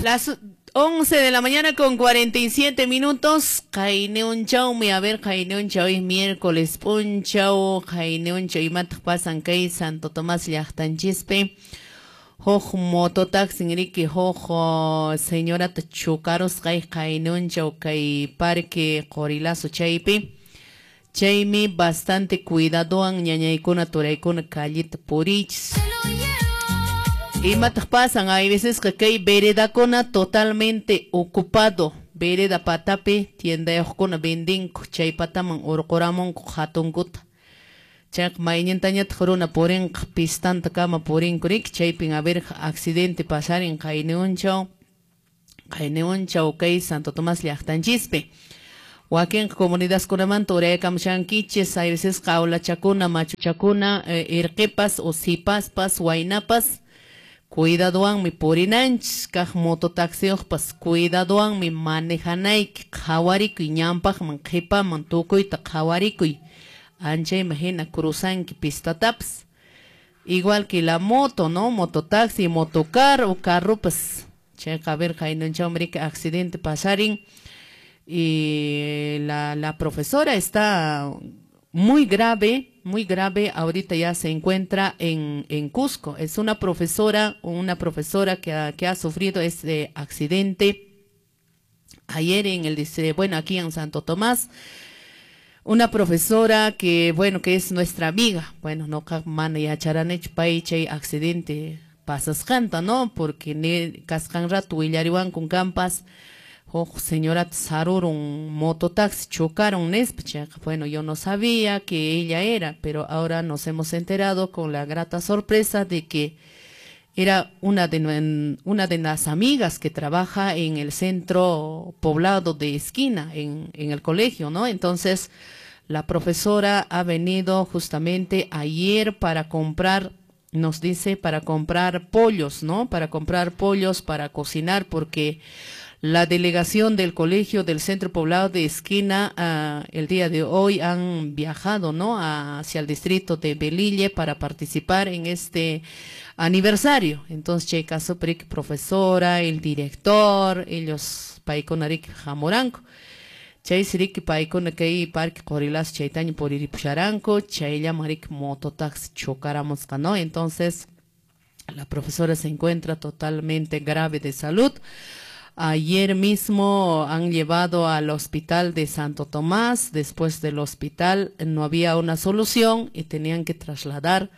Las 11 de la mañana con 47 minutos. Qayniunchawmi, a ver, qayniunchaw es miércoles p'unchaw, qayniunchaw imataq pasan kay Santo Tomás llaqtanchispi. Huk mototaxin riki huk señorata chukarusqa qayniunchaw kay parque Qorilazo chaypi. Chaymi bastante cuidadowan ñañaykuna turaykuna callita purichis. Imataq pasan, hay veces que kay veredakuna totalmente ocupado. Vereda patapi tiendayuqkuna vendinku, chay pataman urquramunku hatunkuta. Chayqa maynintañataq runa purinqa pistanta kama purinku riki, chaypin a ver accidente pasarin qayniunchaw, qayniunchaw kay Santo Tomás llaqtanchispi. Wakinqa comunidadkunamanta uraykamushankichis, hay veces qawlachakuna, machuchakuna, irqipas o sipaspas, waynapas, cuidadowanmi purinanchis, kaq mototaxiyuqpas cuidadowanmi manejanayki, qhawarikuy ñanpaqman, qhipaman, tukuyta qhawarikuy. Anchayman hina cruzanki pistatapas. Igual que la moto, ¿no? Mototaxi, motocar o carropas. Chayqa, a ver, qaynunchawmi riki accidente pasarin. Y la profesora está muy grave, muy grave. Ahorita ya se encuentra en Cusco. Es una profesora que ha sufrido este accidente ayer en el, bueno, aquí en Santo Tomás. Una profesora que, bueno, que es nuestra amiga. Bueno, no mana yacharanichu pay chay accidente pasasqanta, ¿no? Porque ne kasqan rato willariwankun kampas huk señorata sarurun mototaxi chocaron nispa. Chayqa, bueno, yo no sabía que ella era, pero ahora nos hemos enterado con la grata sorpresa de que era una de las amigas que trabaja en el centro poblado de esquina, en el colegio, ¿no? Entonces, la profesora ha venido justamente ayer para comprar, nos dice, para comprar pollos, ¿no? Para comprar pollos, para cocinar, porque la delegación del colegio del centro poblado de esquina el día de hoy han viajado, ¿no? Hacia el distrito de Belille para participar en este aniversario. Entonces, chay caso prik profesora, el director, ellos paykuna riki hamuranku. Chay siriki paykuna kay parque Qorilazo chaytaña puriripusharanku, chayllaman riki mototaxi chocaramusqa, ¿no? Entonces, la profesora se encuentra totalmente grave de salud. Ayer mismo han llevado al hospital de Santo Tomás. Después del hospital no había una solución y tenían que trasladar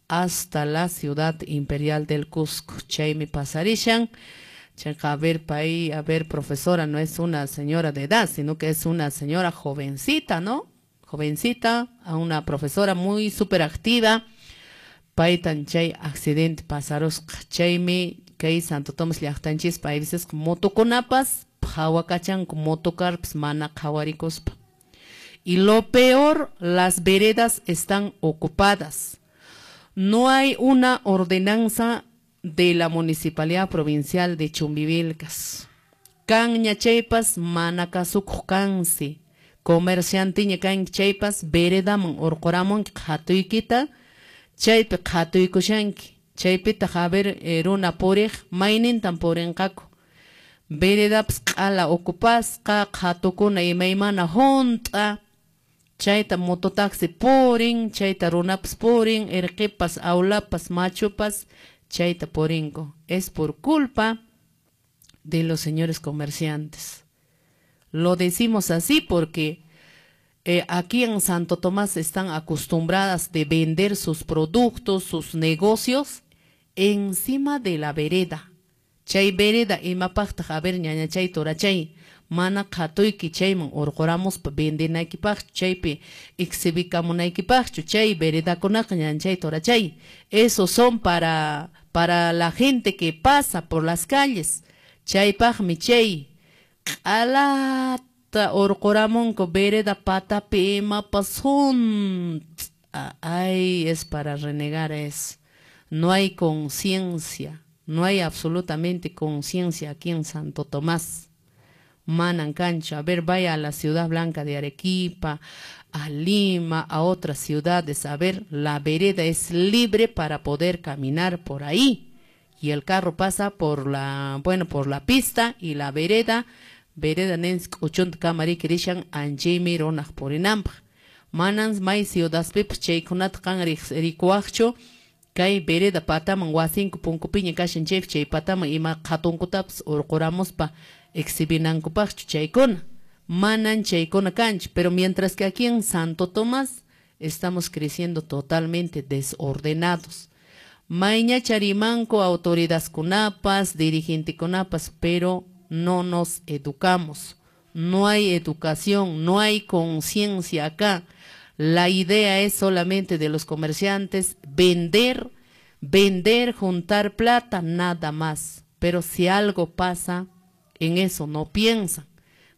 hasta la ciudad imperial del Cusco. Chaymi pasarishan. Chayqa, a ver, pay, a ver, profesora, no es una señora de edad, sino que es una señora jovencita, ¿no? Jovencita, a una profesora muy súper activa. Paytan chay accidente pasarusqa. Chaymi kay Santo Tomás llaqtanchispa hay veces motokunapas phawakachanku motocarpas mana qhawarikuspa. Y lo peor, las veredas están ocupadas. No hay una ordenanza de la Municipalidad Provincial de Chumbivilcas. Kanña chaypas mana kasukuq kansi. Comerciantiña kanki chaypas veredaman urquramunki qhatuykita, chaypi qhatuykushanki. Chaypitaq a ver runa puriq maynintan purinqaku. Veredapas q'ala ocupasqa, qhatukuna imaymana hunt'a, chayta mototaxi purin, chayta runapas purin, irqipas, aulapas, machupas, chayta purinku. Es por culpa de los señores comerciantes. Lo decimos así porque aquí en Santo Tomás están acostumbradas de vender sus productos, sus negocios encima de la vereda. Chay vereda imapaqtaq a ver ñaña chay turachay mana qhatuyki chayman urquramuspa vendenaykipaqchu, chaypi exhibikamunaykipaqchu, chay veredakunaqa ñañachay turachay. Esos son para la gente que pasa por las calles. Chaypaqmi chay q'alata urquramunku vereda patapi imapas hunt'a. Ay, es para renegar eso. No hay conciencia, no hay absolutamente conciencia aquí en Santo Tomás. Manan cancha, a ver, vaya a la Ciudad Blanca de Arequipa, a Lima, a otras ciudades, a ver, la vereda es libre para poder caminar por ahí. Y el carro pasa por la, bueno, por la pista y la vereda, vereda nins k'uchunta kama riki rishan anchaymi runaq purinanpaq. Manan may ciudadpipas chaykunata qan rikuwaqchu kay vereda pataman wasinku punkupiña kashan chaypi chay pataman ima qhatunkutapas urquramuspa exhibinankupaqchu chaykuna. Manan chaykuna kanchu, pero mientras que aquí en Santo Tomás estamos creciendo totalmente desordenados. Mayñacha rimanku autoridadkunapas, dirigentekunapas, pero no nos educamos. No hay educación, no hay conciencia acá. La idea es solamente de los comerciantes vender, vender, juntar plata, nada más. Pero si algo pasa, en eso no piensan.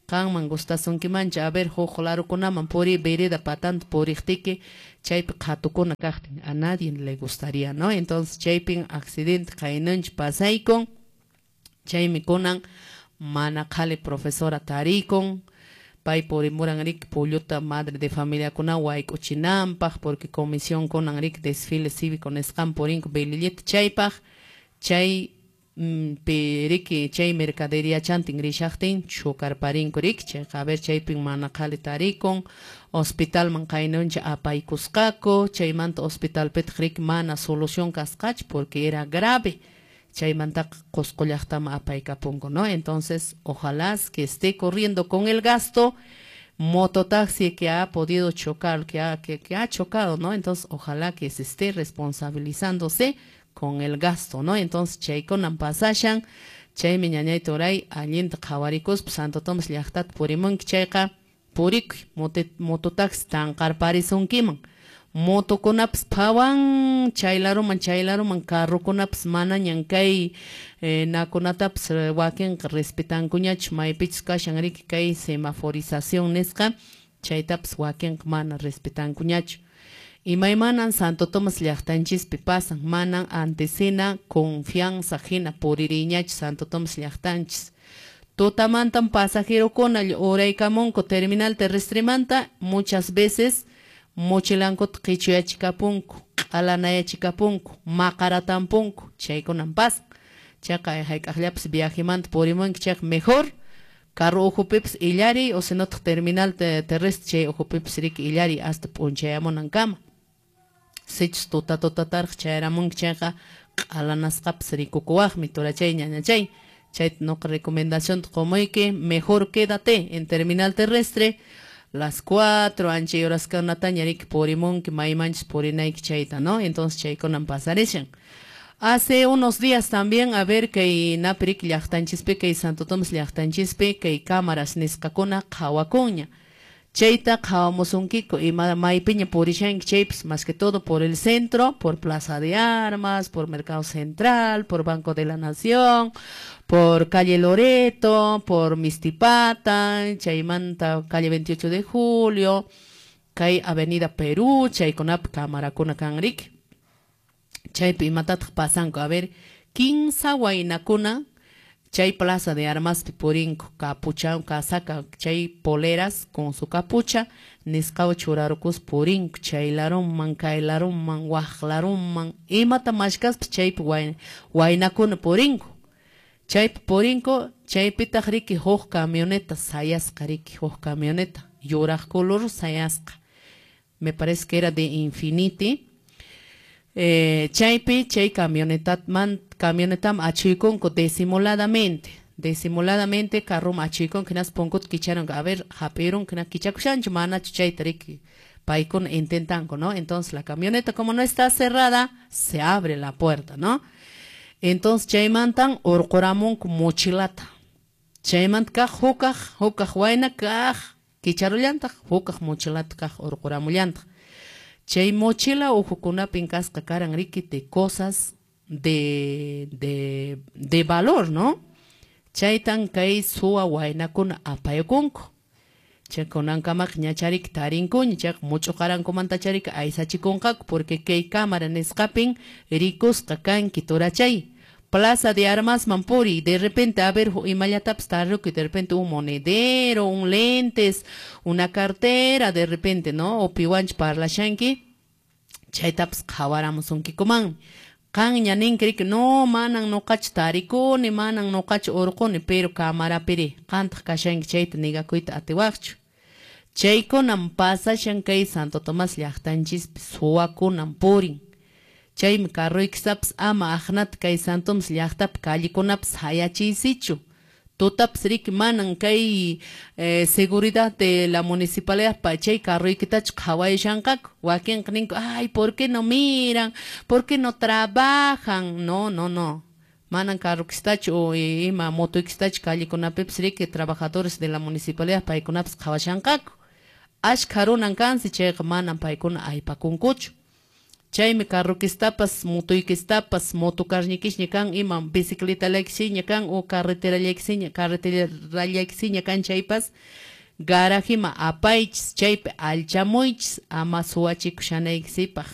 Qanman gustasunkimancha, a ver, huk larukunaman puri, vereda patanta puriqtiki, chaypi qhatukuna kaqtin, a nadie le gustaría, ¿no? Entonces chaypin accidente qaynanchik pasaykun, chaymi kunan mana qhali profesora tarikun, pay purimuran riki pulluta madre de familiakuna wayk'uchinanpaq, porque comisión kunan riki desfile cívico nisqan purinku Velillita chaypaq, chay riki chay mercadería chantin rishaqtin chukarparinku riki, chayqa a ver chaypin mana qhali tarikun, hospitalman qaynuncha apaykusqaku, chaymanta hospitalpitaq riki mana solución kasqachu porque era grave, chaymantaqa Qusqu llaqtaman apaykapunku, ¿no? Entonces, ojalá que esté corriendo con el gasto mototaxi que ha podido chocar, que ha chocado, ¿no? Entonces, ojalá que se esté responsabilizándose con el gasto, ¿no? Entonces, chaykunan pasashan, chaymi ñañay turay allinta qhawarikuspa Santo Tomás llaqtata purimunki chayqa purikuy, mototaxi tanqarparisunkiman. Motokunapas phawan chaylaruman chaylaruman carrokunapas manañan kay nakunatapas wakinqa respetankuñachu maypichus kashan riki kay semaforización nisqa chaytapas wakinqa mana respetankuñachu. Imaymanan Santo Tomás llaqtanchispi pasan, manan antesina confianza hina puririyñachu Santo Tomás llaqtanchis. Tutamantan pasajerokuna uraykamunku terminal terrestremanta muchas veces mochilankuta qichuyachikapunku, q'alanayachikapunku, maqaratampunku, chaykunan pasan. Chayqa hayk'aqllapas viajemanta purimunki chayqa mejor carro ukhupipas illariy o si notaq terminal terrestre chay ukhupipas riki illariy hasta p'unchayamunankama. Sichus tuta tutataraq chayaramunki chayqa q'alanasqapas rikukuwaqmi turachay ñañachay. Chayta nuqa recomendación qumuyki, mejor quédate en terminal terrestre las 4 anchay horaskunataña riki purimunki maymanchus purinayki chayta, ¿no? Entonces chaykunan pasarishan. Hace unos días también, a ver, kay napi riki llaqtanchispi, kay Santo Tomás llaqtanchispi, kay cámaras nisqakuna qhawakunña. Chayta qhawamusunkiku ima maypiña purishanki chaypis, más que todo por el centro, por Plaza de Armas, por Mercado Central, por Banco de la Nación, por calle Loreto, por Mistipata, chaymanta calle 28 de Julio, kay Avenida Perú, chaykunapi camarakuna kan riki. Chaypi imatataq pasanku, a ver, 15 waynakuna chay Plaza de Armaspi purinku, capucha, casaca, chay poleras con su capucha, nisqawan churarukuspa purinku, chay laruman, kay laruman, waq laruman, imata mashkaspa chaypi waynakuna purinku. Chaypi purinku, chaypitaq riki huk camioneta sayasqa riki, huk camioneta, yuraq color sayasqa. Me parece que era de Infiniti. Chaypi chay camionetam achuykunku disimuladamente, disimuladamente carrom achuykunku hinaspa punkuta kicharanku, a ver, hap'irunku hina kichakushanchu manachu chayta riki paykuna intentanku, ¿no? Entonces la camioneta como no está cerrada, se abre la puerta, ¿no? Entonces chaymantan urquramunku mochilata. Chaymanta kaq hukaq, hukaq wayna kaq kicharullantaq, hukaq mochilata kaq urquramullantaq. Chay mochila ukhukunapin kasqa karan riki de cosas de valor, ¿no? Chaytan kay suwa waynakuna apaykunku. Chay kunankamaqa ñachariki tarinkuña, chayqa much'uqarankumanta chariki aysachikunqaku, porque kay cámara nisqapin rikusqa kanki turachay. Plaza de Armasman puriy, de repente a ver imallatapas tarirukuy, de repente un monedero, un lentes, una cartera, de repente, ¿no? O piwancha parlashanki, chaytapas qhawaramusunkikumanmi. Qanña ninki riki, no, manan nuqachu tarikuni, manan nuqachu urquni, pero camarapiri qantaq kashanki chayta negakuyta atiwaqchu. Chaykunam pasashan kay Santo Tomás llaqtanchispi, suwakunan purin. Chaymi carroykistapas ama aqnata kay Santo Tomás llaqtapi callekunapi sayachiysichu. Tutapas riki manan kay seguridad de la municipalidad pa chay carroykitachu qhawayushanqaku. Wakinqa ninku, ay, ¿por qué no miran? ¿Por qué no trabajan? No, no, no. Manan carrokistachu o ima motoykistachu callekunapipas riki trabajadores de la municipalidad paykunapas qhawashanqaku. Ashkha runan kansi chayqa manan paykuna aypakunkuchu. Chaymi carrokistapas, motoykistapas, motocarñikisña kan, ima bicicletalaykisiña kan o carreterallayquisiña, carreterallayquisiña kan chaypas, garajima apaychis, chaypi alchamuychis, ama suwachikushanaykichikpaq.